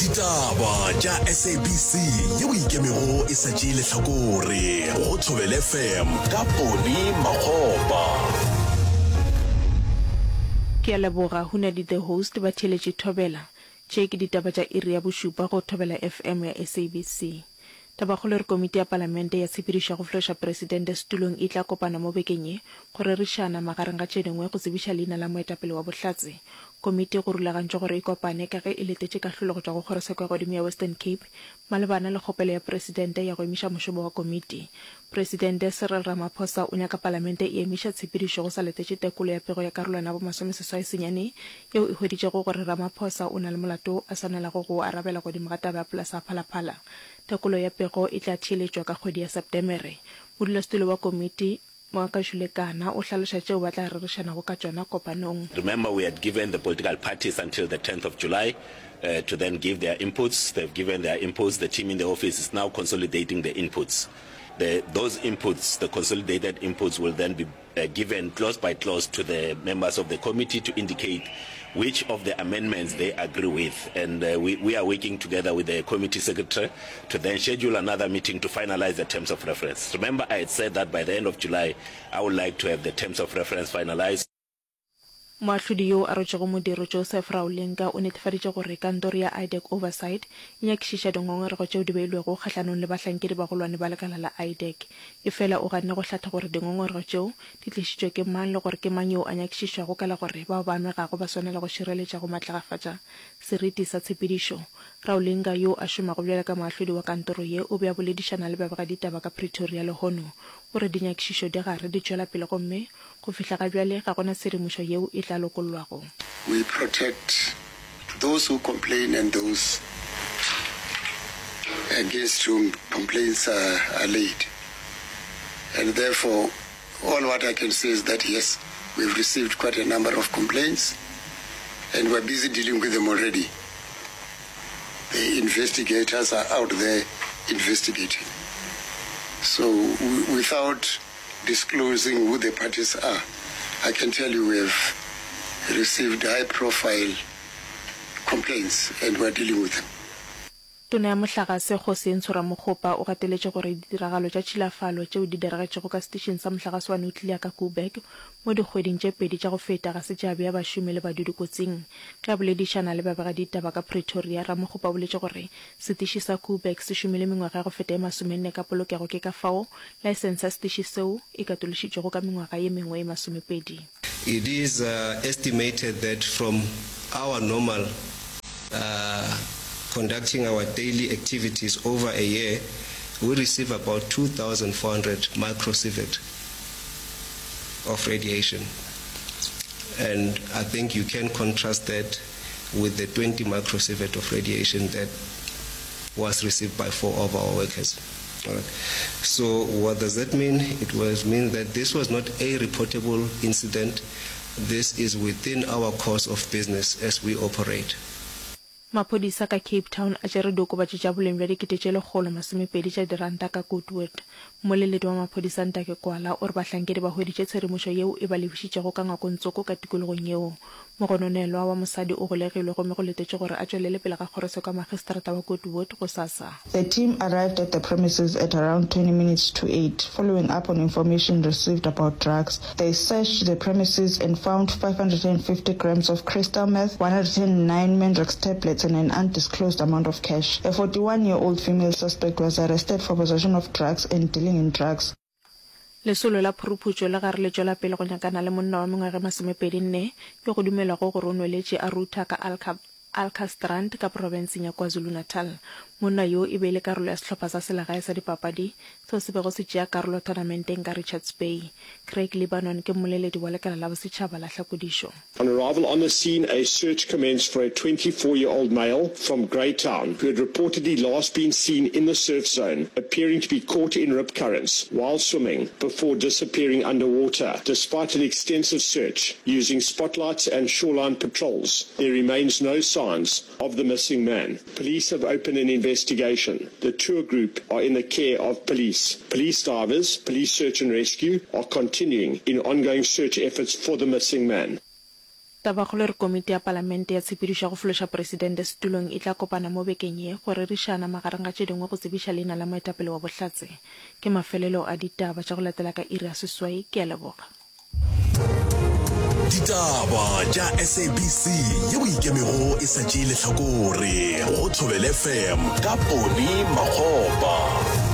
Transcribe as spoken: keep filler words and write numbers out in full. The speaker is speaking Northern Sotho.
Ditaba tša S A B C yeo ikemego e sa tšee lehlakore go Thobela F M ka Poni Makgopa. Ke a leboga Hunadi the host ba theeletše Thobela. Tše ke ditaba tša iri ya bošupa go Thobela F M ya S A B C. Tabakgolo e re komiti ya palamente ya tshepedišo ya go fološa presidente setulong e tla kopana mo bekeng ye go rerišana magareng ga tše dingwe go tsebiša leina la moetapele wa bohlatse. Komiti go rulagantšwe gore e kopane ka ge e letetše kahlolo go tšwa go kgorotsheko ya godimo ya Western Cape malebana le kgopelo ya presidente ya go emiša mošomo wa komiti. Presidente Cyril Ramaphosa o nyaka palamente e emiša tshepedišo go sa letetše tekolo ya pego ya karolwana ya bomasomeseswai senyane yeo e hweditšego gore Ramaphosa o na le molato a swanelago go o arabela godimo ga taba ya polasa ya Phalaphala. Tekolo ya pego e tla theeletšwa ka kgwedi ya Septemere. Modulasetulo wa komiti Makashule Gana o hlaloša tšeo ba tla rerišanago ka tšona kopanong. Remember, we had given the political parties until the tenth of July uh, to then give their inputs. They've given their inputs. The team in the office is now consolidating the inputs. The, those inputs, the consolidated inputs, will then be uh, given clause by clause to the members of the committee to indicate which of the amendments they agree with. And uh, we, we are working together with the committee secretary to then schedule another meeting to finalize the terms of reference. Remember, I had said that by the end of July, I would like to have the terms of reference finalized. Moahlodi yo a rotšego modiro Joseph Raulinga o netefaditše gore kantoro ya IDAC Oversight e nyakišiša dingongorego tšeo di beilwego kgahlanong le bahlankedi bagolwane ba lekala la IDAC. Efela o ganne go hlatha gore dingongorego tšeo di tlišitšwe ke mang le gore ke mang yo a nyakišišwago ka la gore bao ba amegago ba swanela go šireletša go matlagafatša seriti sa tshepedišo. Raulinga yo a šomago bjalo ka moahlodi wa kantoro ye o be a boledišana le babegaditaba ka Pretoria lehono. O re dinyakišišo di gare di tšwela pele gomme go fihla ga bjale ga gona tshedimošo yeo e tla lokollwago. We protect those who complain and those against whom complaints are, are laid. And therefore, all what I can say is that yes, we've received quite a number of complaints and we're busy dealing with them already. The investigators are out there investigating. So w- without disclosing who the parties are, I can tell you we have received high profile complaints and we're dealing with them. Tona ya mohlagase Kgosientsho Ramokgopa o gateletše gore ditiragalo tša tšhilafalo tšeo di diragetšego ka setišing sa mohlagase wa nuclear ka Koeberg mo dikgweding tše pedi tša go feta ga se tša bea bašomi le badudi kotsing. Ge a boledišana le babegaditaba ka Pretoria, Ramokgopa o boletše gore setiši sa Koeberg se šomile mengwaga ya go feta e masomenne ka polokego, ke ka fao laesense ya setiši seo e katološitšwego ka mengwaga ye mengwe e masomepedi. It is uh, estimated that from our normal uh, conducting our daily activities over a year, we receive about two thousand four hundred microsievert of radiation. And I think you can contrast that with the twenty microsievert of radiation that was received by four of our workers. All right. So what does that mean? It was mean that this was not a reportable incident. This is within our course of business as we operate. Maphodisa ka Cape Town a tšere diokobatši tša boleng bja dikete tše lekgolo masomepedi tša diranta ka Goodwood. Mmoleledi wa maphodisa Ntake Kwala o re bahlankedi ba hweditše tshedimošo yeo e ba lebišitšego ka ngwakongtsoko ka tikologong yeo. Mogononelwa wa mosadi o golegilwe gomme go letetše gore a tšwelele pele ga kgorotsheko ya magistrata wa Goodwood gosasa. The team arrived at the premises at around twenty minutes to eight, following up on information received about drugs. They searched the premises and found five hundred fifty grams of crystal meth, one hundred nine Mandrax tablets and an undisclosed amount of cash. A forty-one-year-old female suspect was arrested for possession of drugs and dealing in drugs. Lesolo la phuruphutšo le gare le tšwela pele go nyakana le monna wa mengwaga e masomepedi nne yo go dumelwago gore o nweletše a rutha ka Alka Alkantstrand ka profenseng ya KwaZulu-Natal. Monna yo e be e le karolo ya sehlopha sa selegae sa dipapadi seo se bego se tšea karolo tournamenteng ka Richards Bay. Craig Lebanon ke mmoleledi wa lekala la bosetšhaba la hlakodišo. On arrival on the scene, a search commenced for a twenty-four-year-old male from Greytown who had reportedly last been seen in the surf zone, appearing to be caught in rip currents while swimming before disappearing underwater. Despite an extensive search using spotlights and shoreline patrols, there remains no signs of the missing man. Police have opened an investigation. The tour group are in the care of police. Police divers, police search and rescue are continuing in ongoing search efforts for the missing man. Tabakgolo e re Komiti ya Palamente ya Tshepedišo ya go Fološa Presidente setulong e tla kopana mo bekeng ye go rerišana, magareng ga tše dingwe, go tsebiša leina la moetapele wa Bohlatse. Ke mafelelo a ditaba tša go latela ka iri ya seswai. Ke a leboga. Ditaba tša S A B C yeo e ikemego e sa tšee lehlakore go Thobela F M ka Poni Makgopa.